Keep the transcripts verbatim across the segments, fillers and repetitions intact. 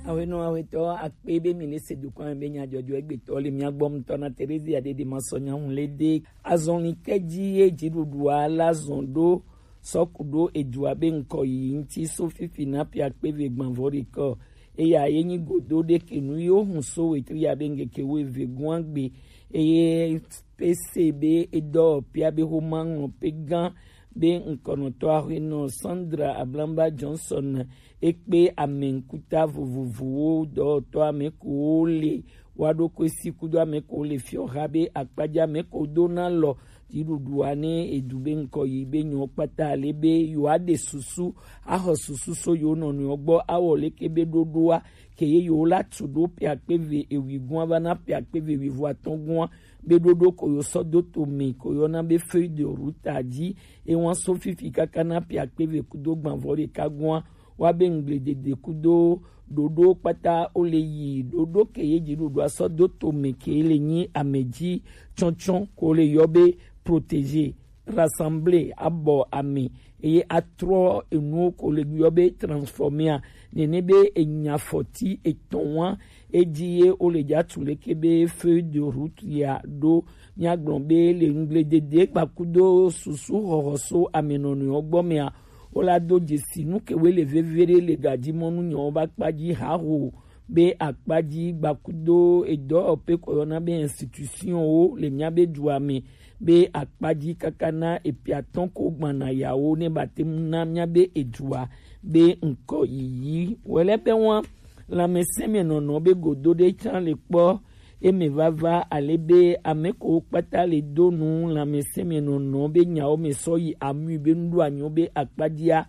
Awenɔ awetɔ akpe be mi le se dokwan be nya jɔjɔ egbetɔ le mia gbɔ mutɔ na Terezia de de ma sɔ nya hun le de. Azɔn li ke ji ye ji ɖuɖu ala zɔn ɖo sɔku ɖo edua be ŋkɔ yi ŋti so fifi na pia kpe ve gbanvɔ ɖe kɔ. Eya ye nyi godo ɖe ke nu yo hun so wetri ya be ŋgeke wo eve guan gbe. Eye pese be edɔ pia be ho ma ŋlɔ pe gan be ŋkɔnɔtɔ ahuenɔ Sandra Ablamba Johnson ekpe ame ŋkuta vovovowo dɔwɔtɔ ame kowo le wa ɖo koe si kudo ame kowo le fiɔ ha be akpadza ame ko do na lɔ dziɖuɖua ne edu be ŋkɔ yi be nyɔ kpata le be yewoa ɖe susu axɔ susu so yewo nɔnɔewo gbɔ awɔ leke be ɖoɖoa ke ye yewo la tu ɖo pia kpe ve ewi gua va na pia kpe ve ewi vo atɔn gua be ɖoɖo ko yo sɔ do to me ko yɔna be feuille de route a dzi ewa so fifi kaka na pia kpe ve kudo gbanvɔ ɖeka gua wa be ŋgble dede kudo ɖoɖo kpata wo le yi ɖoɖo ke ye dzi ɖoɖo asɔ do to me ke le nyi ame dzi tsɔtsɔ ko le yɔ be protéger, rassembler, abɔ ame eye atrɔ enuwo ko le yɔ be transformer a nene be enya fɔti etɔn wa edzi ye wo le dza tu leke be feuille de route ya ɖo. Míagblɔ be le ŋgble dede gbakudo susu xɔxɔ so amenɔnɔewo gbɔ mea wo la do dzesi nu ke woe le veve ɖe le gadzi mɔnu nyawo ba kpa dzi haho be akpa dzi gbakudo edɔwɔƒe ko yɔna be institution wo le mía be dua me be akpa dzi kaka na epiatɔn ko gbana yawo ne ba te ŋu na mía be edua be ŋkɔ yiyi wele be wa lãmesẽ me nɔnɔ be godo ɖe tsã le kpɔ eme vava ale be ame ko kpata le do nu lãmesẽ me nɔnɔ be nyawo me sɔ yi amui be nuɖo anyo be akpa dzia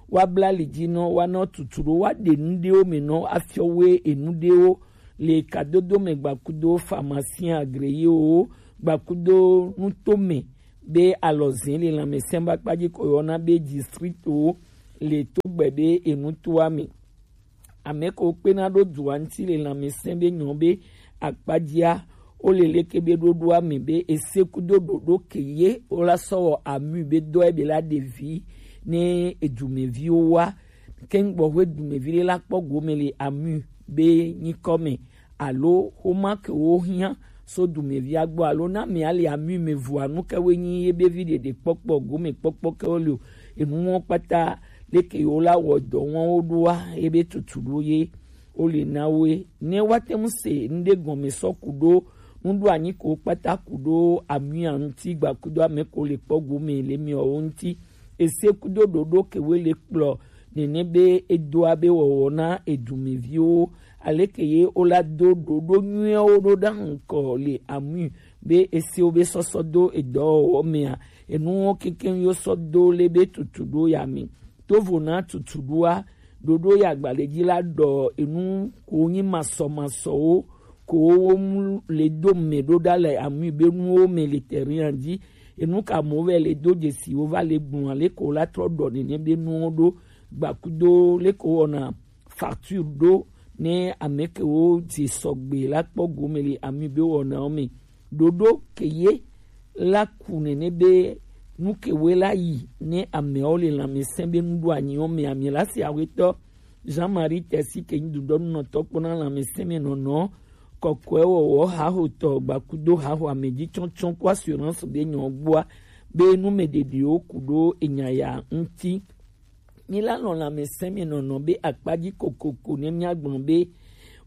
wa bla li dzi nɔ wa nɔ tutu ɖo wa ɖe nu ɖewo me nɔ afiɔ we enu ɖewo le kadodo me gbakudo pharmacien agréé wo gbakudo nutome be alɔzẽ le lãmesẽ ba kpadzi ko yɔna be district wo le to gbe be enu toa me ame ko kpena ɖo dua ŋuti le lãmesẽ be nyɔ be akpadzia wo le leke be ɖoɖoa me be ese kudo ɖoɖo ke ye wo la sɔ wɔ amui be dɔe be la ɖevi ne edumeviwo wa keŋ gbɔ ƒe dumevi ɖe la kpɔ gome le amui be nyikɔ me alo xoma ke wo hiã so dumevia gbɔ alo na mea le amui me vua nu ke wo nyi ye be vi ɖeɖe kpɔkpɔ gome kpɔkpɔ ke wo le o enuwo kpata leke yewo la wɔ dɔ wɔn wo ɖoa ebe tutu ɖo ye wo le na woe ne woate ŋu se ŋɖe gɔme sɔ ku ɖo nuɖoanyi ko kpata ku ɖo amuia ŋuti gbakudo ame ko le kpɔ gome le miawo ŋuti ese kudo ɖoɖo ke wo le kplɔ nene be edoa be wɔwɔ na edumeviwo aleke ye wo la do ɖoɖo nyuiawo ɖo ɖa ŋkɔ le amui be esewo be sɔsɔ do edɔwɔwɔ mea enuwo kekeŋ yo sɔ do le be tutu ɖo ya me tovo na tutu ɖoa ɖoɖo ya gbalẽ dzi la ɖɔ enu ko nyi masɔmasɔwo ko wo mu le do me ɖo ɖa le amui be nuwo me le terrain dzi enu ka mo vɛ le do dzesi wo va le gbɔn ale ko la trɔ ɖɔ nene be nuwo ɖo gbakudo le ko wɔna facture ɖo ne ame ke wo dze sɔgbe la kpɔ gome le amui be wɔnawo me ɖoɖo ke ye la ku nene be nu ke woe la yi ne ameawo le lãmesẽ be nuɖoanyiwo me ame la si awetɔ Jean-Marie Tesi ke nyi dudɔnunɔtɔ kpɔna lãmesẽ me nɔnɔ kɔkɔe wɔwɔ haxotɔ gbakudo haxo ame dzi tsɔtsɔ ko assurance be nyɔ gbɔa be nu me ɖeɖewo ku ɖo enya ya ŋuti. Mi la nɔ lãmesẽ me nɔnɔ be akpadzi kokoko ne miagblɔ be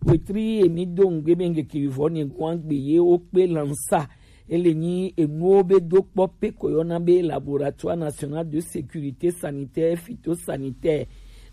wetri emi do ŋgbe be ŋgeke vivɔ ne gua gbe ye wo kpe lansa ele nyi enuwo be do kpɔ pe ko yɔna be laboratoire national de sécurité sanitaire phytosanitaire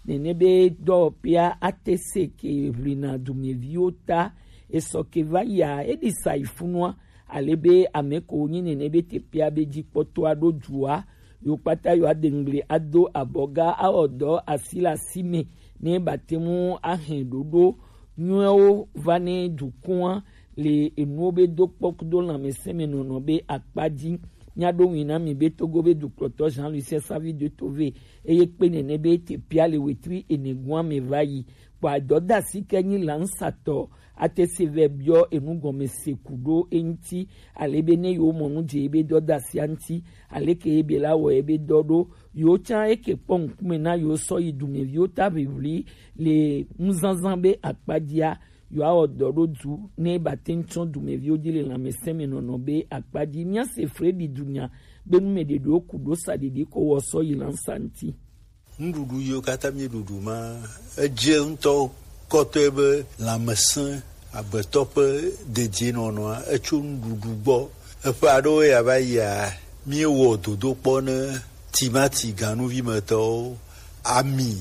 nene be dɔwɔƒea ate se ke ʋlina dumeviwo ta esɔ ke va yia eɖi sa yi funua ale be ame ko nyi nene be teƒea be dzi kpɔtɔa ɖo dua yo kpata yo ade ŋgble ado abɔga awɔ dɔ asi le asi me ne bate ŋu ahe ɖoɖo nyuiwo va ne dukɔa le enuwo be do kpɔ kudo lãmesẽ me nɔnɔ be akpa dzi Nya ɖo ŋui na mi be Togo be dukplɔtɔ Jean Lucien Savy de Tove eye kpe nene be te pia le wetri ene gua me va yi. Kpɔ adɔdasi ke nyi lansatɔ ate se vɛ biɔ enu gɔme se ku ɖo eŋti ale be ne yewo mɔ nu dze ebe dɔdasia ŋti ale ke ebe la wɔ ebe dɔ ɖo yewo tsã eke kpɔ ŋkume na yewo sɔ yi dumeviwo ta ʋiʋli le nuzazã be akpadzia yewoawɔ dɔ ɖo du ne ba te ŋu tsɔ dumeviwo dzi le lãmesẽ me nɔnɔ be akpadzi. Míase Fredi dunya be nu me ɖeɖewo ku ɖo sa ɖiɖi ko wɔ sɔ yi lansa ŋti. Nuɖuɖu yiwo katã míeɖuɖu ma, edze ŋutɔ kɔtɔe be lãmesẽ agbetɔ ƒe dedienɔnɔa etso nuɖuɖu gbɔ. Eƒe aɖewo ya va yia, míewɔ dodokpɔ ne timati ganuvimetɔwo, ami,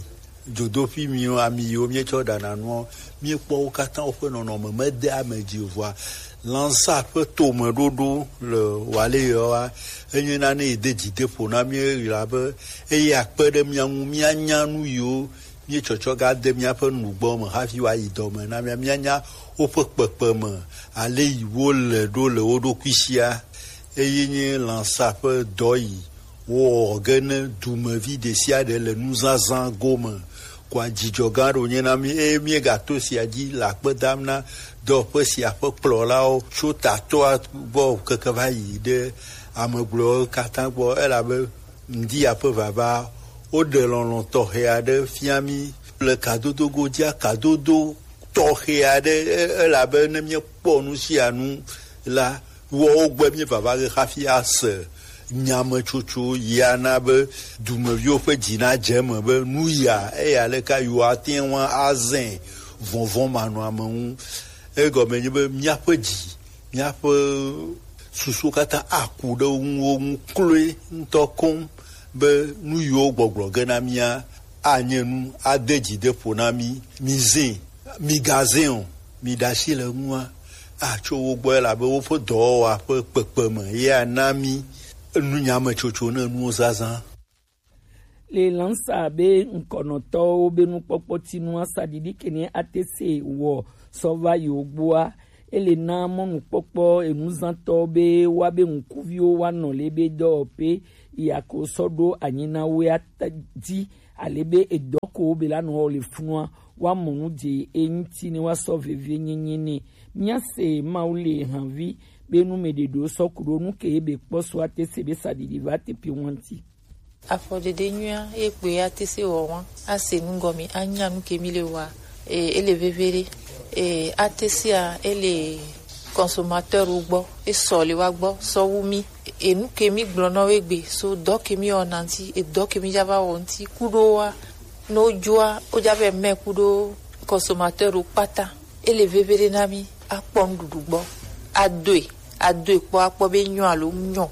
dzodoƒi miwo, ami yiwo míetsɔ ɖana nuwo, míekpɔ wo katã woƒe nɔnɔme mede ame dzi o. Vɔa, lãsa ƒe tomeɖoɖo le Waleyawoa, enye nane yi de dzi de ƒo na mí ɣla be eye akpe ɖe mía ŋu míanya nu yiwo míetsɔtsɔ ga de míaƒe nugbɔ me hafi woayi dɔ me na mía, míanya woƒe kpekpeme ale yi wole ɖo le wo ɖokui sia. Eye nye lãsa ƒe dɔ yi wowɔ ge ne dumevi ɖe sia ɖe le nuzazã gome. Kɔa dzidzɔ gã ɖo nye na mí eye míegato sia dzi le akpe dam na dɔwɔƒe sia ƒe kplɔlawo tso tatɔa gbɔ keke va yi ɖe ame gblɔewo katã gbɔ, elabe ŋdi ya ƒe vava woɖe lɔlɔ̃ tɔxɛ aɖe fia mí le kadodo godzia kadodo tɔxɛ aɖe, e-, elabe ne míekpɔ nu sia nu la, woawo gbɔ míeva va ge hafi ase nyametsotso yi ana be dumeviwo ƒe dzi nadze eme be nu ya eya leka yewoate ŋu azẽ vɔvɔ̃ manɔame ŋu. Egɔme nye be míaƒe dzi, míaƒe susuwo katã aku ɖe wo ŋu, wo ŋu kloe ŋutɔ koŋ be nu yiwo gbɔgblɔ ge na mía anye nu ade dzi de ƒo na mí. Mizẽ, migazẽ o, miɖe asi le eŋua, atso wo gbɔ, elabe woƒe dɔwɔwɔa ƒe kpekpeme ye ana mí nunyametsotso ne nuwo zazã. Le lãsa be ŋkɔnɔtɔwo be nukpɔkpɔ tinu asaɖiɖi kene ate se wɔ sɔ va yi wo gbɔa, ele na mɔnukpɔkpɔ enuzãtɔ be woabe ŋkuviwo woanɔ le be dɔwɔƒe yi ako sɔ ɖo anyi na woea ta dzi ale be edɔ ko be la nɔ wɔ le funua woamɔ nu dze eŋuti ne woasɔ vevie nyenye ne. Míase Mawu le havi be nu me ɖeɖewo sɔ ku ɖo nu ke ebe kpɔ so ate se be saɖiɖi va teƒe ŋuti. Afɔɖeɖe nyuia ye kpoe ate se wɔ wa ase nu gɔme anya nu ke mi le wa. E, ele veve ɖe. E, ate sea ele consommateur wo gbɔ, esɔ le wa gbɔ sɔ wu mi. Enu ke mi gblɔ na wo egbe so dɔ ke mi wɔna ŋuti, edɔ ke mi dza va wɔ ŋuti kuɖo wa, ne wodzɔa wodza vɛ mɛ kuɖo consommateur wo kpata. Ele veve ɖe na mi akpɔ nuɖuɖu gbɔ, adoe, adoe kpɔ akpɔ be nyɔ alo nyɔ.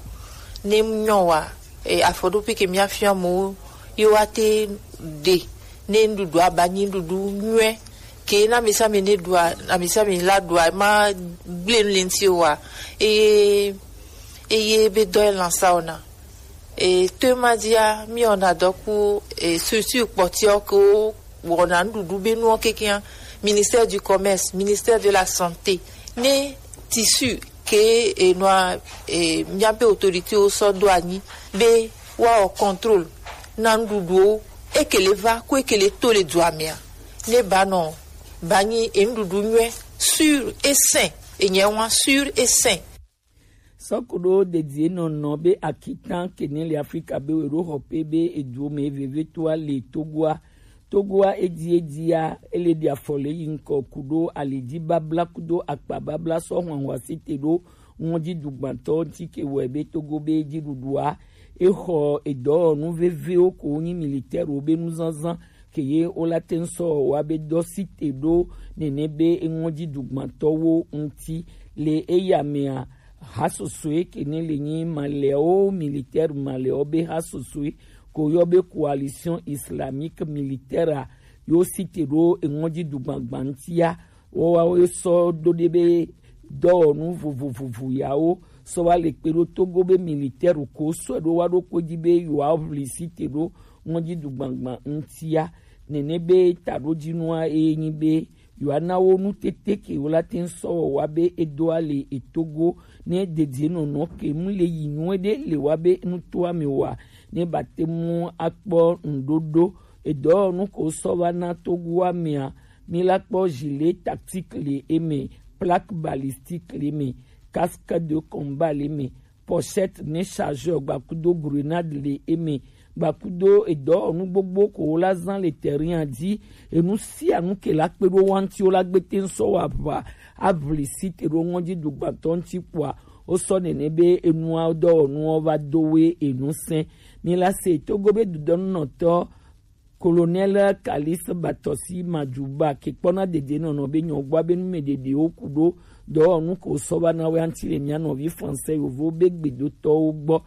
Ne nyɔ wa, e, afɔɖoƒe ke mi afia mo ye wa te ɖe ne nuɖuɖu aba nyi nuɖuɖu nyuie ke na mi sami ne ɖua, na mi sami la ɖua ma gble nu le ŋuti wa. Eye eye be dɔ ye lansa ona. E, to ma dzia, mi wɔna dɔ ku, e, structure kpɔtiɔ ke wo wɔna nuɖuɖu be nuɔ kekia, ministère du commerce, ministère de la santé, ne tissu ke, e, nɔa, e, míabe autorité wo sɔ do anyi be woawɔ contrôle na nuɖuɖuwo, eke le va ko eke le to le dua mea, ne ba nɔ ba nyi enuɖuɖu nyuie sûr et sain, enyɛ wa sûr et sain. Sɔkuɖo dedie nɔnɔ be akitan kene le Afrika be we ɖo xɔ pe be eduwo me vevetoa le Togoa. Togoa edi edia ele ɖi afɔ le yi ŋkɔ kuɖo alidzi babla kudo akpa babla sɔ hwanhwa si te ɖo ŋɔdzi dugbantɔ ŋti ke wɔe be Togo be dziɖuɖua exɔ edɔwɔnu vevewo ko nyi militaire wo be nuzazã ke ye wo la te ŋ sɔ wa be dɔ si te ɖo nene be eŋɔdzi dugbantɔwo ŋti le eya mea. Hasosoe ke ne le nyi malɛwo militaire malɛwo be hasosoe ko yɔ be coalition islamique militaire a yo si te ɖo eŋɔdzi dugbagba ŋtia. Woawo sɔ ɖo ɖe be dɔwɔnu vovovovo yawo sɔ va le kpe ɖo Togo be militaire ko sɔe ɖo wa ɖo kpodzi be yewoaʋli si te ɖo ŋɔdzi dugbagba ŋtia. Nene be taɖodzinua eye nyi be yewoana wo nu tete ke wo la te ŋ sɔ wɔ wa be e do ale e Togo ne dedienɔnɔ ke mu le yi nyuie ɖe le wa be nu to ame wa ne ba te mu akpɔ ŋɖoɖo. Edɔwɔnu ko sɔ va na Togo amea, mi la kpɔ gilet tactique le eme, plaque balistique le eme, casque de combat le eme, pochette ne chargeur gbakudo grenade le eme, gbakudo edɔwɔnu gbogbo ko wo la zan le terrain dzi. Enu sia nu ke la kpe ɖo wa ŋuti wo la gbe te ŋ sɔ wa ʋa avli si te ɖo ŋɔdzi dugbantɔ ŋuti kpoa wo sɔ nene be enua dɔwɔnuwo va do we enu sɛn. Mi la se Togo be dudɔnunɔtɔ Colonel Kalis Batɔsi Madjuba ke kpɔna dedienɔnɔ be nyɔgbɔ be nu me ɖeɖewo ku ɖo dɔwɔnu ko sɔ va na wɛ anti le mia nɔvi français yovo be gbedotɔwo gbɔ.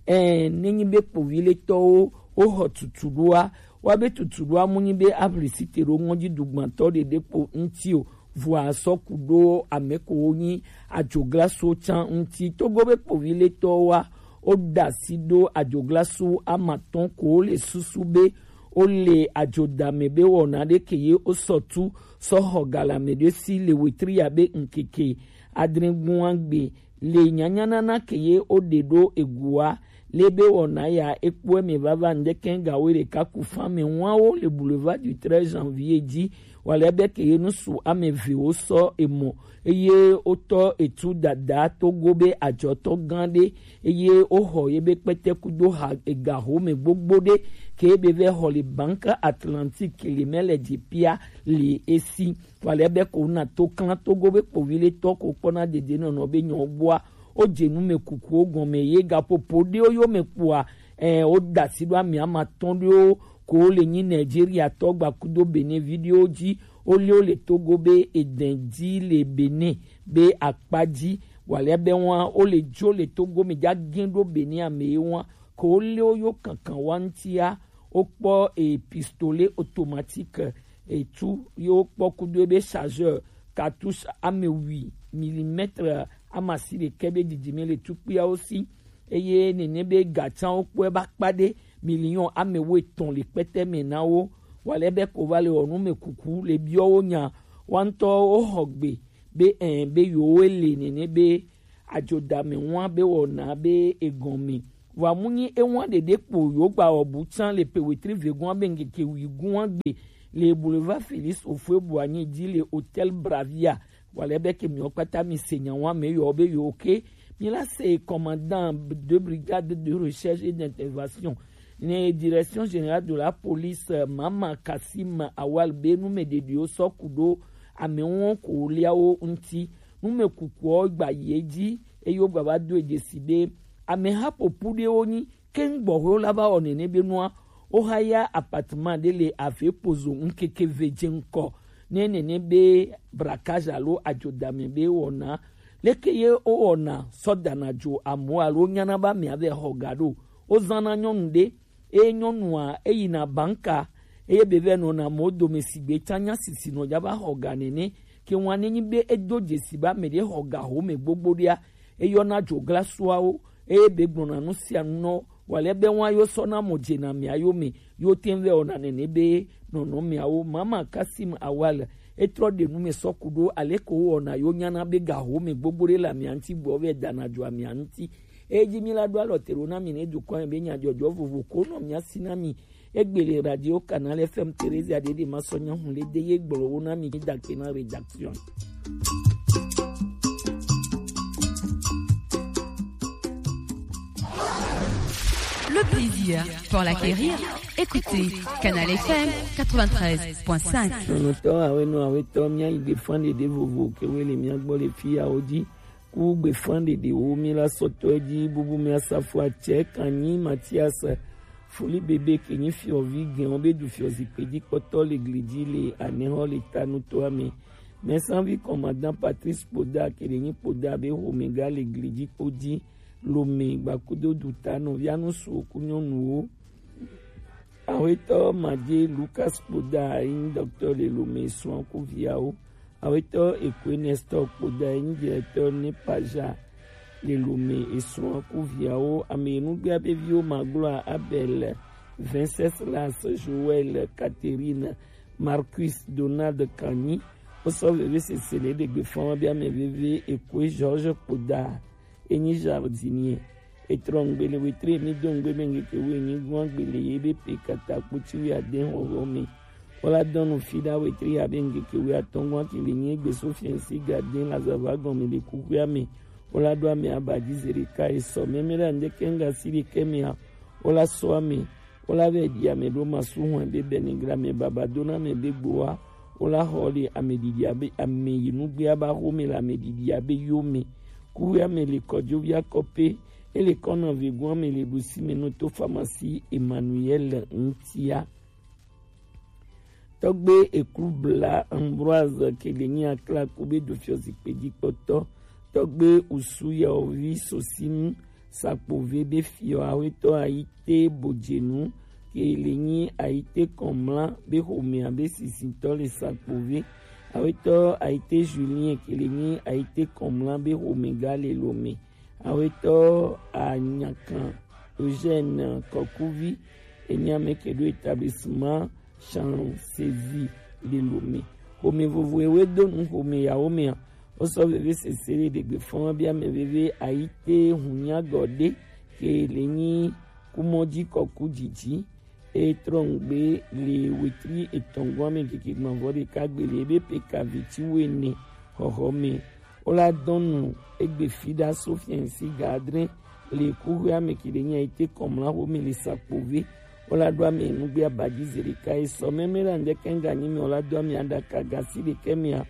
Ɛɛ, nenyi be kpoviletɔwo wo xɔ tutu ɖoa, wa be tutu ɖoa mu nyi be aʋli si te ɖo ŋɔdzi dugbantɔ ɖeɖe kpo ŋuti o, vɔa sɔ ku ɖo ame ko wo nyi adzoglaso can ŋuti. Togo be kpoviletɔwo wa wo da asi ɖo adzoglaso amatɔn ko wo le susu be wo le adzodame be wɔna ɖe ke ye wo sɔ tu sɔ xɔ galame ɖe si le wetri ya be ŋkeke adre gua gbe le nyanyanana ke ye wo ɖe ɖo egua le be wɔna ya ekpɔe me vava ŋdeke gawo ɖeka ku fan me ŋua wo le boulevard du treize janvier dzi. Wale be ke ye nusu ame eve wo sɔ emɔ eye wotɔ etu dada Togo be adzɔtɔ gã ɖe eye woxɔ ye be kpɛtɛku do ha ega home gbogbo ɖe ke be vɛ xɔ le Banque Atlantique le mɛ le dzi pia le esi. Wale be ko na to klan Togo be kpoviletɔ ko kpɔna dedienɔnɔ be nyɔ gbɔa wo dze nu me kukuwo gɔme ye gaƒoƒo ɖewo yo me kpɔa. Ɛ, wo da asi ɖo ame amatɔn ɖewo ko le nyi Nigeria tɔ gbakudo Benin vi ɖewo dzi. Wo le wo le Togo be edɛn dzi le Benin be akpa dzi. Wale be wa wo le dzo le Togo me dza gɛn ɖo Benin ame ye wa ko wo le wo yo kankan wa ŋutia. Wo kpɔ e pistolet automatique etu ye wo kpɔ kudo ebe chargeur cartouche ame wi millimètre amasi ɖekɛ be didime le tukpuiawo si. Eye nene be gatsanwo kpɔe ba kpa ɖe million ame wo etɔn le kpɛtɛ me na wo. Wale be ko va le wɔ nu me kuku le biɔ wo nya wa ŋutɔ wo xɔ gbe be ɛ be yewo le nene be adzodame ŋua be wɔna be egɔme. Vɔa mu nyi eŋua ɖeɖe kpo yewo gba wɔ bu tsã le pe wetri vegɔa be ŋkeke wi gua gbe le boulevard Félix Houphouët-Boigny dzi le hôtel Bravia. Wale be ke miwo kpata mi se nya wa me yɔ be yewo ke mi la se commandant de brigade de recherche et d'intervention ne direction générale de la police Mama Kassim Awal be nu me ɖeɖiwo sɔ ku ɖo ame ŋu ko liawo ŋuti. Numekukuawo gba yi edzi eye wogba va do dzesi be ameha ƒoƒu ɖewo nyi keŋ gbɔxwewo la va wɔ nene be nua wohaya apartment ɖe le ave pozo ŋkeke ve dze ŋkɔ ne nene be braquage alo adzodame be wɔna. Leke ye wowɔna sɔ dana dzo amewo alo wonyana be amea vɛ xɔ ga ɖo? Wozãna nyɔnu ɖe eye nyɔnua eyina banka eye be vɛ nɔna amewo dome sigbe tsã nya sisi nɔ dza va xɔ ga nene. Ke ŋua nenyi be edo dzesi be ame ɖe xɔ ga home gbogbo ɖea, eyɔna dzoglasuawo eye be gblɔna nu sia nu nɔ wale be ŋua yo sɔna mo dzena mia yo me yo te vɛ wɔna nene be nɔnɔ miawo. Mama Kasim Awal etrɔ ɖe nu me sɔ ku ɖo ale ko wɔna yo nyana be ga home gbogbo ɖe le amia ŋuti gbɔ vɛ dana dzo amia ŋuti. Eyi dzi mi la ɖo alɔ te ɖo na mi ne dukɔ yɛ be nyadzɔdzɔ vovo ko nɔ mia si na mi. Egbe le radio Canal F M Theresia ɖeɖe ma sɔ nya hun le de ye gblɔ wo na mi da ke na rédaction. Le plaisir pour l'acquérir, écoutez Canal F M quatre-vingt-treize point cinq. Nɔnɔtɔ awe nɔ awe tɔ mia yi gbe fan ɖeɖe vovo ke we le mia gbɔ le fi ya wo dzi. Ku gbe fan ɖeɖe wo mi la sɔtɔ dzi bubu mi asafo atsɛ kanyi Mathias Foli bebe ke nyi fiɔvi gɛn wo be du fiɔ zikpe dzi kpɔtɔ le gli dzi le anɛhɔ le ta nutoa me. Mɛsanvi commandant Patrice Kpoda ke ɖe nyi Kpoda be homega le gli dzi kpo dzi. Lome gbakudo du ta nɔvia nu su oku nyɔnuwo. Awetɔ Madje Lucas Kpoda enyi docteur le Lome srɔ̃ ku viawo. Awetɔ Ekwe Nestor Kpoda enyi directeur ne Paja le Lome esrɔ̃ ku viawo. Ame nugbea be viwo magblɔa Abel, Venceslas, Joël, Catherine, Marcus, Donald Kanyi, Wo sɔ veve sese le ɖegbe fɔn wa be ame veve Ekue Georges Kpoda, enyi jardinier. Etrɔ ŋgbe le wetri emi do ŋgbe be ŋkeke wo enyi gɔn agbe le ye be pe kata kpoti wi ade hɔhɔ me. Wo la dɔn nu fi ɖa wetri ya be ŋkeke wi atɔn gɔn ki le nyi egbe so fiɛnsi ga de la zava gɔn me le kuxia me. Wo la ɖo ame aba ji ze ɖeka esɔ mɛmɛ ɖa ŋdeke ŋga si ɖekɛ mea. Wo la sɔ ame Wo la vɛ ɖi ame ɖo masu hɔn be bɛnigla mɛ baba do na mɛ be gbo wa. Wo la xɔ le ame ɖiɖi abe ame yi nugbe aba xo me le ame ɖiɖi abe yo me. Kuwe ame le kɔdzo via kɔpe. Ele kɔna vegun ame le ɖusi me no to famasi Emmanuel ŋtia. Tɔgbe Eklubla Ambroise ke le nyi akla ku be do fiɔ zikpe dzi kpɔtɔ. Tɔgbe Usu Yaovi Sosinu Sakpove be fiɔ awetɔ Ayite Bojenu ke le nyi Ayite Kɔmla be xomea be sisitɔ le Sakpove. Awetɔ Ayite Julien ke le nyi Ayite Kɔmla be xomega le Lome. Awetɔ Anyakan Eugène Kɔkuvi enyi ame ke ɖo établissement Chancésie le Lome. Xome vovo ewe do nu xome yawo mea. Wo sɔ veve sese le ɖegbe fɔn bi ame veve Ayite Hunyagɔde ke le nyi kumɔdzi kɔku dzidzi. E trɔ ŋgbe le wetri etɔn gɔn ame keke gbɔnvɔ ɖeka gbe le ebe peka veti wene xɔxɔ me. Wo la dɔn nu egbe fi ɖa so fiɛnsi ga adre le kuxwe ame ke le nyi Ayite Kɔmla xome le Sakpove. Wo la ɖo ame nugbe abadzi ze ɖeka esɔ mɛmɛ la ŋdeke ŋga nyi me wo la do ame aɖaka gasi ɖekɛ mea.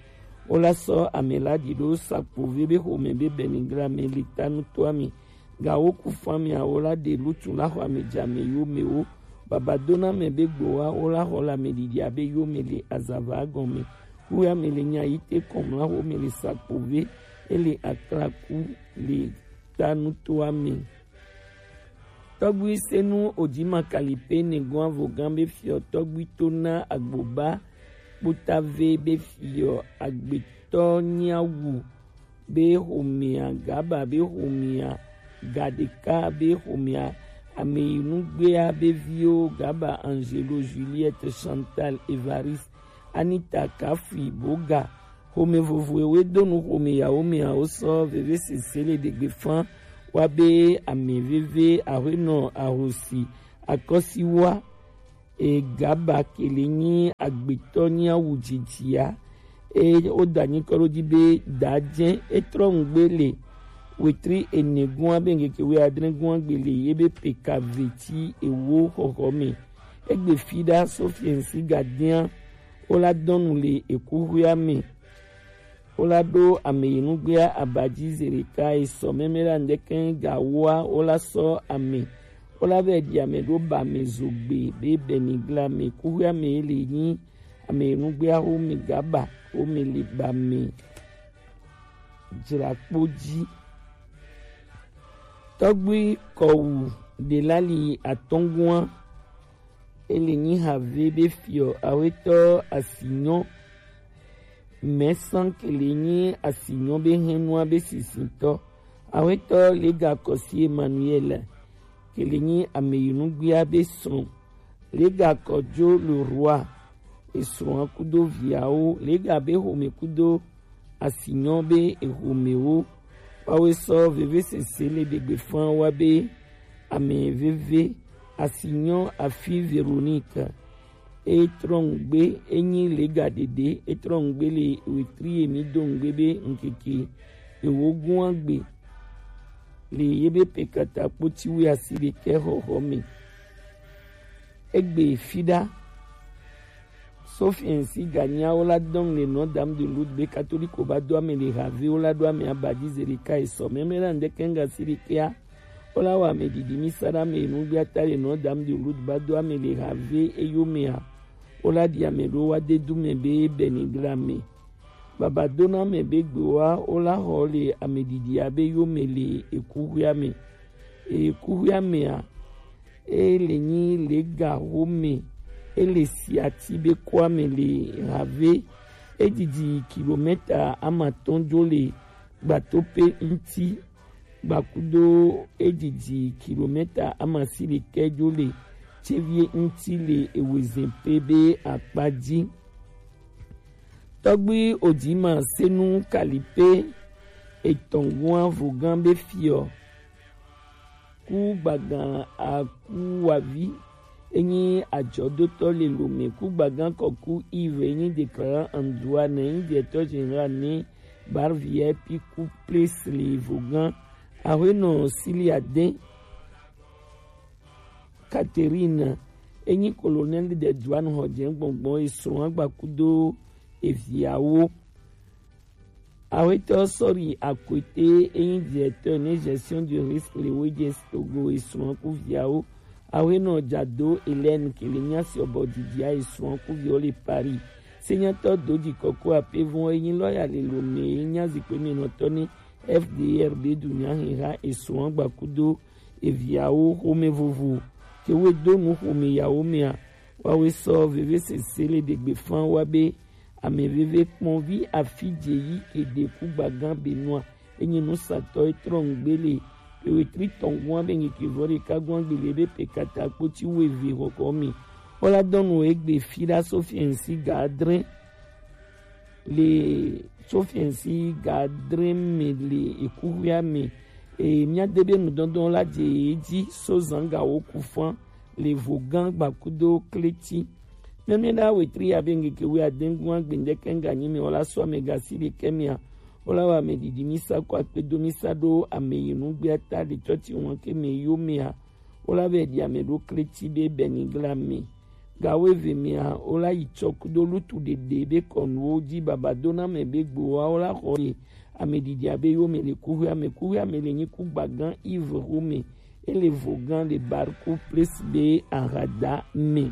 Wo la sɔ ame la ɖi ɖo Sakpove be xome be bɛnigla me le ta nuto ame. Gawo ku fami awo la ɖe lutu la xɔ ame dza me yo me wo. Baba do na me be gbo wa wo la xɔ la me ɖiɖi abe yo me le azava gɔn me. Ku ya me le nya yi te kɔn mla xo me le Sakpove. E le akla ku le ta nuto ame. Tɔgbi senu odzi makali pe ne gɔn avogan be fiɔ tɔgbi to na agboba kpotave be fiɔ agbetɔ nyawu be xomea, Gaba be xomea, Gadeka be xomea, Ameyinugbea be viwo, Gaba Angelo, Juliette, Chantal, Evariste, Anita, Kafui, Boga. Xome vovoewo do nu xome yawo mea wo sɔ veve sese le ɖegbe fan wa be ame veve ahuenɔ ahosi akɔsiwa. E Gaba ke le nyi agbetɔ nyi awu dzidzia. E wo da nyi kɔ ɖo dzi be da dze e trɔ ŋgbe le wetri ene gua be ŋkeke wui adre gua gbe le ye be peka veti ewo xɔxɔ me. Egbe fi ɖa so fiɛnsi gadea wo la dɔnu le ekuxuia me. Wo la ɖo ame yi nugbea abadzi ze ɖeka esɔ mɛmɛ la ŋdeke gawoa wo la sɔ ame. Wo la vɛ ɖi ame ɖo ba ame zogbe be bɛnigla me kuxuia me le nyi ame yi nugbea wo me gaba wo me le ba me dzrakpo dzi. Tɔgbui kɔwu ɖelali atɔngua ele nyi have be fiɔ awetɔ asinyɔ. Mɛsan ke le nyi asinyɔ be hɛnua be sisitɔ. Awetɔ lega kɔsi Emmanuel ke le nyi ameyinugbia be srɔ̃. Lega kɔdzo le rua esrɔ̃a kudo viawo lega be xome kudo asinyɔ be exomewo. Woawoe sɔ veve sese le ɖegbe fan wa be ame veve asinyɔ afi Véronique. E trɔ ŋgbe enyi lega ɖeɖe e trɔ ŋgbe le wetri emi do ŋgbe be ŋkeke ewo gua gbe le ye be pekata kpoti wi asi ɖekɛ xɔxɔ me. Egbe fi ɖa. Sofiɛnsi ganya wo la dɔn le Notre Dame de Lourdes be katoliko ba do ame le have wo la ɖo ame abadzi ze ɖeka esɔ mɛmɛ la ŋdeke ŋga si ɖekɛa. Wo la wɔ ame ɖiɖi mi sa ɖe ame nugbea ta le Notre Dame de Lourdes ba do ame le have eyomea. Wo la ɖi ame ɖo wa de du me be bɛnigla me. Baba do na ame be gbe wa wo la xɔ le ame ɖiɖi abe yome le ekuxuia me. Ekuxuia mea e le nyi lega xome e le siati be kɔa me le have. E didi kilomɛta amatɔn jo le gbatope ŋti. Gbakudo e didi kilomɛta amasi ɖekɛ jo le tsevie ŋti le ewezen pe be akpa ji. Tɔgbi Odima Senu Kalipe etɔn gua vogan be fiɔ. Ku gbagan akuwavi enyi ajɔdotɔ le Lome. Ku gbagan kɔku Yves enyi déclarant en droit ne enyi directeur général ne Bar V I P ku place le vogan. Ahuenɔ Siliade Catherine enyi colonel de douane hɔjɛ gbɔngbɔn esrɔn agbakudo eviawo. Awetɔ Sɔri Akwete enyi directeur ne gestion du risque le Wejes Togo esrɔn ku viawo. Awenɔ Jado Hélène kele nya si ɔbɔ didia esrɔn ku viawo le Paris. Senyatɔ Doji Kɔkɔ Apevɔn enyi lɔya le Lome enya zikpe menɔtɔ ne F D R be du nya hiha esrɔn agbakudo eviawo xome vovo ke we do nu xome yawo mea. Wawe sɔ veve sese le ɖegbe fan wa be ame veve kpɔnvi afi dze yi ke ɖe ku gbagan be nua enyi nusatɔ etrɔ ŋgbe le ewetri tɔngua be ŋkeke vɔ ɖeka gua gbele be pe kata kpoti weve xɔxɔ mi. Wola dɔnu egbe fi ɖa sofiɛnsi ga adre le sofiɛnsi ga adre me le ekuxuia me. E mia de be nudɔdɔn la dze edzi so zanga wo ku fan le vogan gbakudo kleti. Nene na wetri ya be ŋkeke wi adengua gbendeke nga nyi me wola so ame gasi ɖeke mea. Wola wa ame didi misa ko akpedo misa ɖo ame yi nugbea ta le tsɔtsi wan ke me yo mea. Wola be di ame ɖo kleti be benigla me. Gawo eve mea wola yi tsɔ kudo lutu ɖeɖe be kɔnuwo dzi baba do na ame be gbowa wola xɔ ye. Ame didi abe yo me le kuxuia me kuxuia me le nyi ku gbagan ive xome. Ele vogan le barku plis be ahada me.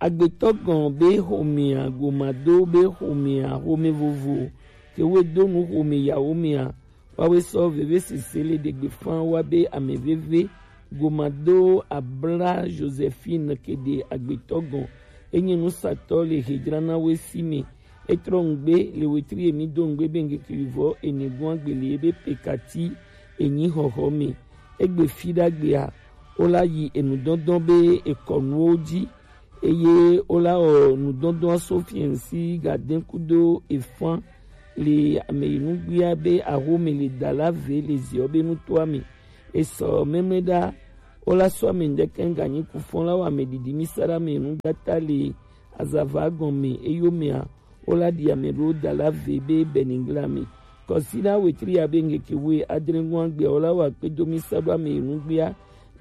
Agbetɔ gɔn be xomea gomado be xomea xome vovo ke we do nu xome yawo mea. Wawe sɔ veve sese le ɖegbe fan wa be ame veve gomado abla Josephine ke ɖe agbetɔ gɔn enyi nusatɔ le hedzra na we si me. Etrɔ ŋgbe le wetri emi do ŋgbe be ŋkeke vivɔ ene gua gbele be pekati enyi xɔxɔ me. Egbe fi ɖagbea wola yi enudɔdɔn be ekɔnuwo dzi eye wola wɔ nudɔdɔn aso fiɛnsi gaden kudo efan le ame yi nugbea be ahome le dala ve le ziɔ be nutoa me. Esɔ mɛmɛ ɖa wola sɔ ame ŋdɛkɛ ŋganyi kufɔn la wɔ ame didi mi sa ɖe ame nugbata le azava gɔme eyomea. Wola ɖi ame ɖewo da la ve be benigla me. Kɔsiɖa wetri ya be ŋkeke we adre ŋua gbea wola wɔ akpedo mi sa ɖo ame nugbea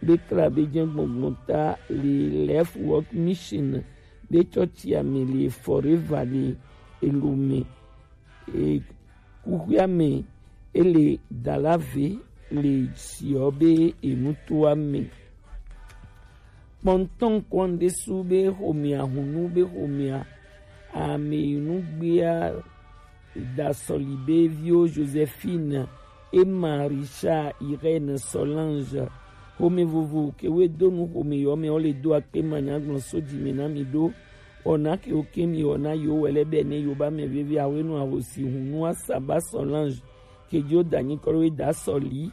be kla be jɛ gbɔngbɔn ta le Life Work Mission be tsɔtsi ame le Forever le elo me. E, kuxuia me ele da la ve le siɔ be enutoa me. Kpɔntɔn kɔn ɖe su be xomea hunu be xomea ame nugbea dasɔli be viwo Josephine, Emma, Richard, Irène, Solange. Xome vovo ke we do nu xome yɔ me wo le do akpe manyagblɔ so dzi me na mi ɖo. Wɔna ke wo ke mi wɔna yo wɛlɛ bɛ ne yo ba mɛ veve awe nu ahosi hunu asaba Solange. Ke jo da nyi kɔ we da sɔli.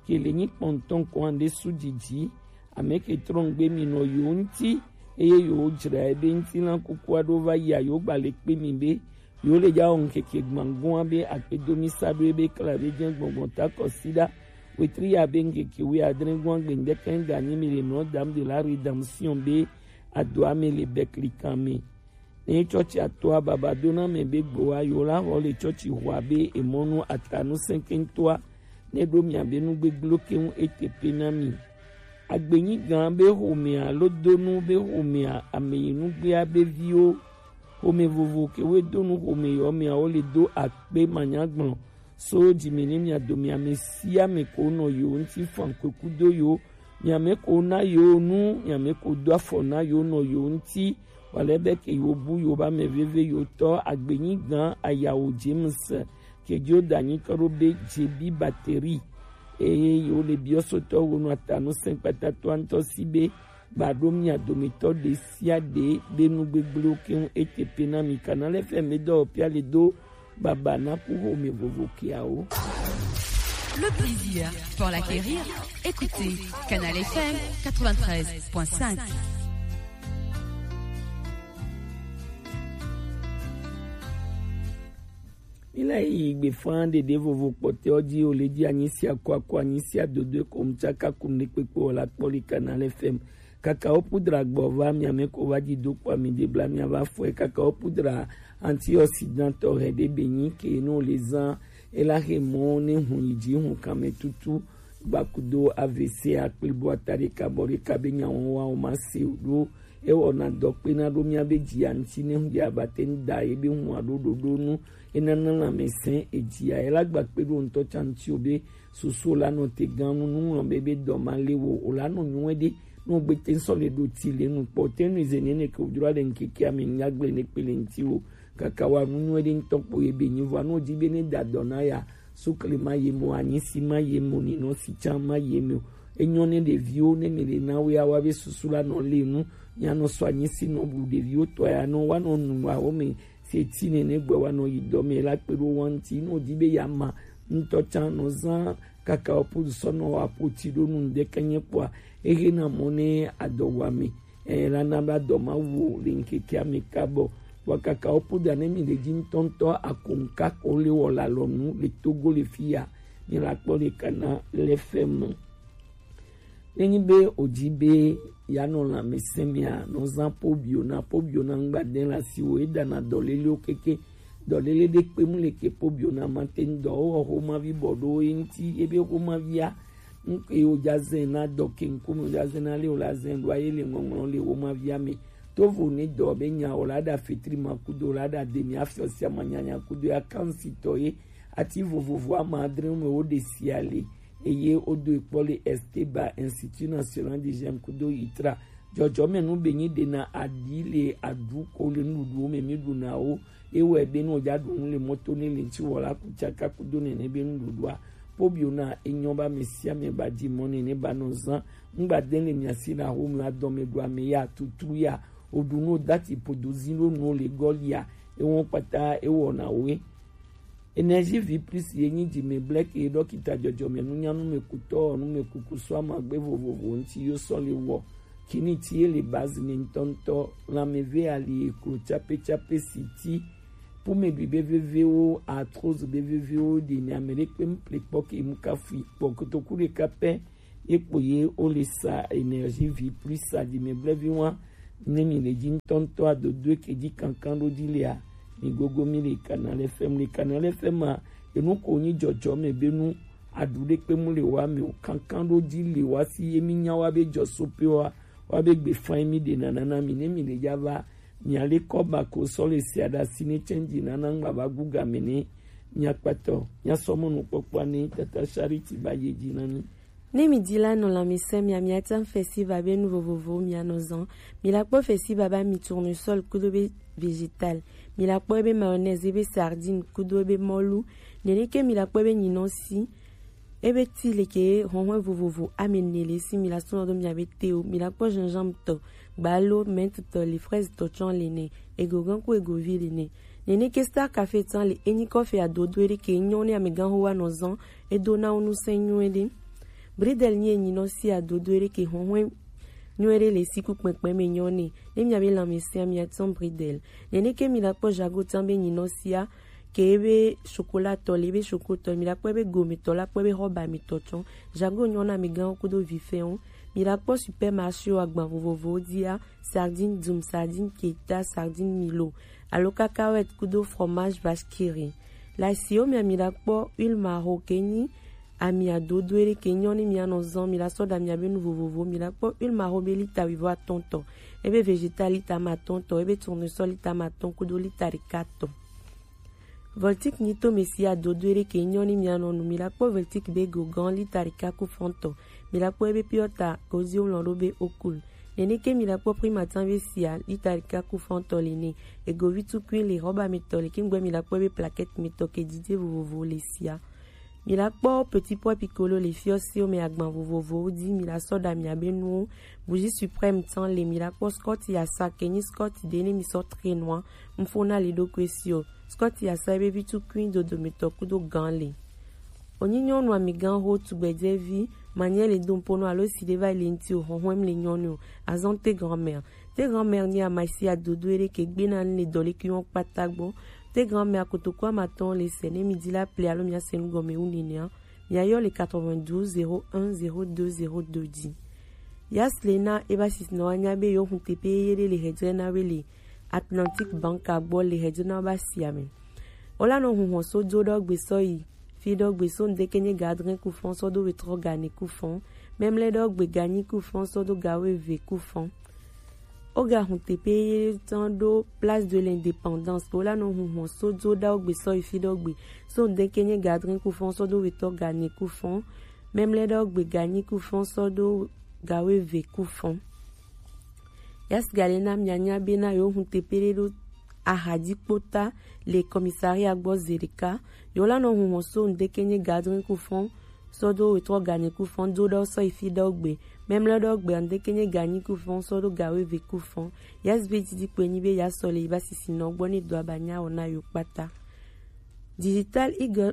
Ke le nyi kpɔntɔn kɔn ɖe su didi. Ame ke trɔ ŋgbe mi nɔ yo ŋti eye yo dzra ebe ŋti lan kuku aɖo va yi ayo gba le kpe mi be yo le ja wɔ ŋkeke gbãgɔa be akpedo mi sa ɖo ebe kla be jɛ gbɔngbɔn ta kɔsiɖa wetri ya be ŋkeke wi adre gɔa gbe ŋdɛkɛ ŋganyi mi le nɔ dam de la rédemption be adoa me le bɛklikan me. Ne tsɔtsi atɔa baba do na mɛ be gboa yo la xɔ le tsɔtsi xɔa be emɔnu atanu sɛnkɛntɔa ne ɖo mia be nu gbegblẽ ke ŋu ete pe na mi. Agbenyi gã be xomea lo do nu be xomea ame yi nugbea be viwo xome vovo ke we do nu xome yɔ mea wo le do akpe manyagblɔ so dzi me ne mia do mia me sia me ko nɔ yo ŋti fan kwe kudo yo mia me ko na yo nu mia me ko do afɔ na yo nɔ yo ŋti wale be ke yo bu yo ba me veve yo tɔ agbenyi gã ayawo James ke jo da nyi kɔ ɖo be jebi bateri eye yo le biɔ sotɔ wo nɔ atanu sɛn kpatatɔa ŋtɔ si be ba ɖo mia dometɔ ɖe sia ɖe be nu gbegblẽwo keŋ ete pe na mi kana le fɛ me dɔ pia le do baba na ku xome vovo keawo. Le plaisir pour l'acquérir, écoutez Canal F M quatre-vingt-treize point cinq. Ila yi gbe fan ɖeɖe vovo kpɔtɛ ɔ ji o le ji anyi sia ko ako anyi sia dodo e ko mu tsaka ku ne kpekpe o la kpɔ li Canal F M. Kaka o pudra gbɔ va mi ame ko va ji do kpa mi de bla mi ava fɔ e kaka o pudra antioxydant ɔ hɛ ɖe be nyi ke no le zan e la he mɔ ne hun yi ji hun kan mɛ tutu gbakudo A V C akpli bo ata ɖeka bɔ ɖeka be nya wɔn wa o ma se o ɖo. Ewɔna dɔ kpena ɖo miabe dzia ŋuti ne ŋdi abate ŋda ye be hua ɖo ɖoɖo nu. Enana lãmesẽ edzia ela gba kpe ɖo ŋutɔ tsa ŋuti o be susu la nɔ te gã nu nuŋlɔ be be dɔ ma le wo o la nɔ nyuɛ ɖe. Ne wogbe te ŋsɔ le ɖo ti le nu kpɔ te nu ize nene ke wodro ale ŋkeke ame ŋgagble ne kpe le ŋuti wo kaka wa nu nyuɛ ɖe ŋutɔ kpo ye be nyi vɔa ne wodi be ne da dɔ na ya sukle ma ye mo anyisi ma ye mo ninɔ si tsa ma ye mo. Enyɔ ne ɖeviwo ne mi le na wo ya wa be susu la nɔ le nu. Mianɔ sɔ anyi si nɔ blu ɖeviwo tɔ ya nɔ wa nɔ nu wa wo me se ti nene gbɛ wa nɔ yi dɔ me la kpe ɖo wa ŋuti nɔ di be ya ma ŋutɔ tsa nɔ zan kaka wo pudu sɔ nɔ wa po ti ɖo nu ŋdeke nye kpɔa ehe na mɔ ne adɔ wa me. E la na ba dɔ ma wo le ŋkeke ame ka bɔ wa kaka wo pudu ne mi le dzi ŋutɔŋutɔ akonka ko le wɔ la lɔ nu le Togo le fi ya. Mi la kpɔ le kana le fɛ me. Nenyi be o ji be ya nɔ lãmesẽ mea, nɔ zã pobio na pobio na ŋgba de la si wo e dana dɔlelewo keke. Dɔlele ɖe kpe mu le ke pobio na ma te ŋdɔ wo xo ma vi bɔ ɖo ye ŋti ebe xo ma via. Ŋke wo ja zẽ na dɔ ke ŋkume wo ja zẽ na le wo la zẽ ɖo aye le ŋɔŋlɔ le wo ma via me. Tovo ne dɔ be nya wo la da fetri ma kudo la da de mi afiɔ sia ma nyanya kudo ya kansi tɔ ye. Ati vovovo ama adre me wo de sia le. Eye wodo ekpɔ le Esteba Institut National de Jeunes kudo itra. Dzɔdzɔme nu be nyi ɖena aɖi le aɖu ko le nuɖuɖuwo me mi ɖuna wo. Ewɔe be ne wòdza ɖu nu le mɔto ne le ŋuti wɔ la ku tsaka kudo nene be nuɖuɖua. Pobio na enyɔ ba me sia me ba di mɔ nene ba nɔ zã. Ŋgba de le mia si na ho mi adɔ me ɖu ame ya tutru ya. Oɖu no dati podo zi ɖo nu le gɔlia. Ewɔ kpata ewɔ na wo. Énergie Vie Plus ye nyi dzime blɛk ye ɖɔkita dzɔdzɔme nunya numekutɔ numekuku sɔ amagbe vovovo ŋuti yo sɔ le wɔ. Kini ti ye le base ne ŋutɔŋutɔ lãmeve ali eklo tsape tsape si ti pumeɖui be vevewo arthrose be vevewo ɖi ne ame ɖe kpe ŋple kpɔ ke mu kafu kpɔ kotoku ɖeka pɛ. Ye kpo ye wo le sa Énergie Vie Plus sa dzi me blevi wa. Ne mi le dzi ŋutɔŋutɔ adodo ke dzi kankan ɖo dzi lea, mi gogo mi le Canal F M le Canal F M a enu ko nyi dzɔdzɔ me be nu aɖu ɖe kpe mu le wa me o kankan ɖo dzi le wa si ye mi nya wa be dzɔ so pe wa wa be gbe fan mi ɖe nana na mi ne mi le dza va mi ale kɔ ba ko sɔ le sia ɖa si ne change nana ŋgba va gu game ne mi akpatɔ mi asɔ mɔnu kpɔkpɔ ne tata Charity ba ye dzi na mi. Ne mi di la nɔ lãmesẽ mia, miate ŋu festival be nu vovovowo mianɔ zã. Mi la kpɔ festival be ami tournesol kudo be vegetal. Mi la kpɔ ebe mayonnaise, ebe sardine kudo ebe mɔlu. Neneke mi la kpɔ ebe nyinɔsi, ebe ti leke hɔhɔn vovovo ame ne le si mi la sɔnɔ do mia be te o. Mi la kpɔ gingembre tɔ, gbalo, menthe tɔ le, fraise tɔ tsɔ le ne, egogan ku egovi le ne. Neneke Star Café tsã le enyi kɔfe adodo ɖe ke nyɔ ne amegãxo wa nɔ zã edo na wo nu sɛn nyuie ɖe. Bridel nyi enyinɔ si adodo ɖe ke hɔhɔe nyuie ɖe le si ku kpɛkpɛ me nyɔ ne. Ne mia be lãmesẽa mia tsã bridel. Neneke mi la kpɔ jago tsã be nyinɔ sia ke ebe chocolat tɔ le ebe choco tɔ mi la kpɔ ebe gome tɔ la kpɔ ebe hɔba mi tɔ tsɔ. Jago nyɔ na amegãxo kudo vifɛwo. Mi la kpɔ supermarché wo agban vovovowo dzia. Sardine dum, sardine keta, sardine milo, alo cacahuète kudo fromage vache qui rit. Le asiwo mea mi la kpɔ huile maro ke nyi ami adodo ɖe ke nyɔ ne mia nɔ zã mi la sɔ ɖa mia be nu vovovo mi la kpɔ huile maro be lita wuivo atɔ̃ tɔ, ebe vegetal lita ame atɔ̃ tɔ, ebe tournesol lita ame atɔ̃ kudo lita ɖeka tɔ. Voltic nyi to me si adodo ɖe ke nyɔ ni mia nɔ nu mi la kpɔ Voltic be go gan lita ɖeka ku fɔntɔ mi la kpɔ ebe piɔta kozi wlɔ ɖo be okul. Neneke mi la kpɔ prima tan be sia lita ɖeka ku fɔntɔ le ne egovi tukui le hɔba mi tɔ le kingbe mi la kpɔ ebe plaquette mi tɔ ke didi vovovo le sia. Mi la kpɔ petit pois piccolo le fiɔsiwo me agban vovovowo di mi la sɔ ɖa mia be nuwo. Bougie suprême tan le mi la kpɔ scotch yasa ke nyi scotch ɖe ne mi sɔ tre nua. Mfona le ɖokui si o. Scott yasa ebe vi tukui dodometɔ kudo gan le. Wonyi nyɔnu amigã ho tugbedzevi manye le do ŋpo no alo si ɖe va yi le ŋti o hɔhɔm le nyɔnu o azɔnte grand-mère. Te grand-mère ni amasi adodo ere ke gbe na le dɔ le ki won kpata gbo. Te grand-mère akotoko amatɔn le sɛ ne mi di la ple alo mi ase nu gɔme wu nene a. Mi ayɔ le quatre-vingt-douze zéro un zéro deux zéro deux di. Yas le na e ba sisi na wa nya be yo hun tepe ye le hedzre na we le Atlantic Bank agbo le hedzre na ba si ame. Ola no hun ho so do do gbe so yi. Fi ɖɔ gbe so ŋdeke nye ga adre ku fɔn sɔ do wetrɔ ga ne ku fɔn. Memle ɖɔ gbe ga nyi ku fɔn sɔ do ga weve ku fɔn. Oga hun tepe ye tɔn ɖo Place de l'Indépendance. Ola nɔ hun hɔn so do ɖa ogbe sɔ yi fi ɖɔ gbe so ŋdeke nye ga adre ku fɔn sɔ do wetɔ ga ne ku fɔn. Memle ɖɔ gbe ga nyi ku fɔn sɔ do ga weve ku fɔn. Yas gale na mianya be na yo hun tepe ɖe ɖo ahadikpota le commissariat gbɔ zeɖeka. Yo la nɔ hun hɔn so ŋdeke nye ga adre ku fɔn sɔ do wetrɔ ga ne ku fɔn do ɖɔ sɔ yi fi ɖɔ gbe. Memle ɖɔ gbe ŋdeke nye ga nyi ku fɔn sɔ do ga weve ku fɔn. Yas be didi kpe nyi be ya sɔ le yi ba sisi nɔ gbɔ ne do aba nya wɔ na yo kpata. Digital Eagle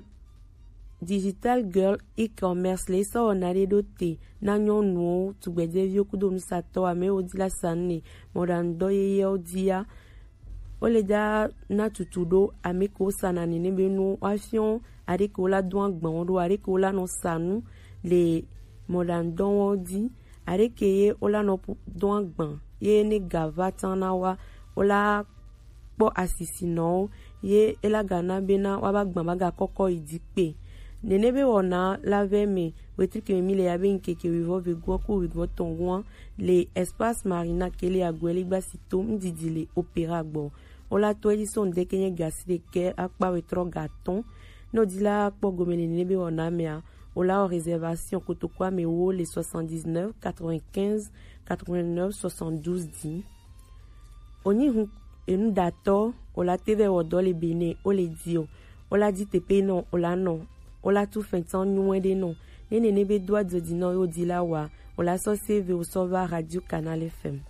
Digital Girl e-commerce le sɔ wɔna ɖe ɖo te na nyɔnuwo, tugbejeviwo kudo nusatɔ amewo di la sa nu ne mɔɖaŋudɔ yeyewo dia. Wo le da na tutu ɖo ame ke wo sa na nene be nu wa fiɔ aɖe ke wo la do agban wo ɖo aɖe ke wo la nɔ sa nu le mɔɖaŋudɔ wo di aɖe ke ye wo la nɔ pu- do agban ye ne ga va tan na wa wo la kpɔ asisinɔwo ye ela ga na bena woaba gbã ba ga kɔkɔ yi dzi kpe. Nene be wɔna la vɛ me wetrike me mi le ya be ŋkeke wivɔ vegua ku wivɔ tɔn gua le Espace Marina ke le aguɛ le gbasi to ŋdidi le Opéra gbɔ. Wola to edzi so ŋdeke nye gasi ɖekɛ akpa wetrɔ ga tɔn. Ne wodi la kpɔ gome le nene be wɔna mea, wola wɔ réservation kotoko ame wo le soixante-dix-neuf quatre-vingt-quinze quatre-vingt-neuf soixante-douze di. Onyi hun enu datɔ ola te vɛ wɔ dɔ le Benin o le di o ola di tepe nɔ ola nɔ ola tu fɛntɔn nyuɛ ɖe nɔ ne nene be do adzɔ di nɔ yo di la wa ola sɔ se ve o sɔ va Radio Canal F M.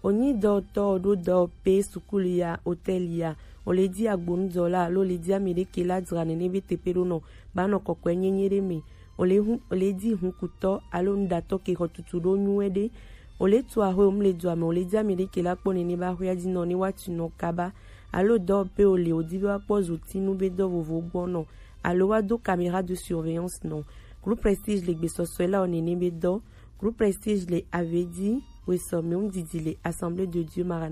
Onyi dɔtɔ o ɖo dɔ pe sukulu ya hôtel ya o le di agbonu dɔ la alo le di ame ɖe ke la dzra nene be tepe ɖo nɔ ba nɔ kɔkɔe nyenye ɖe me o le hun o le di hun kutɔ alo nuɖatɔ ke xɔ tutu ɖo nyuɛ ɖe. O le tu axwe o mu le dua me o le di ame ɖe ke la kpɔ nene ba axwea di nɔ ne wa tu nɔ kaba alo dɔ pe o le o di be wa kpɔ zotinu be dɔ vovo gbɔ nɔ alo wa do caméra de surveillance nɔ. Groupe Prestige le gbesɔsɔe la o nene be dɔ. Groupe Prestige le avedi wesɔ me ŋdidi le Assemblée de Dieu Maranatha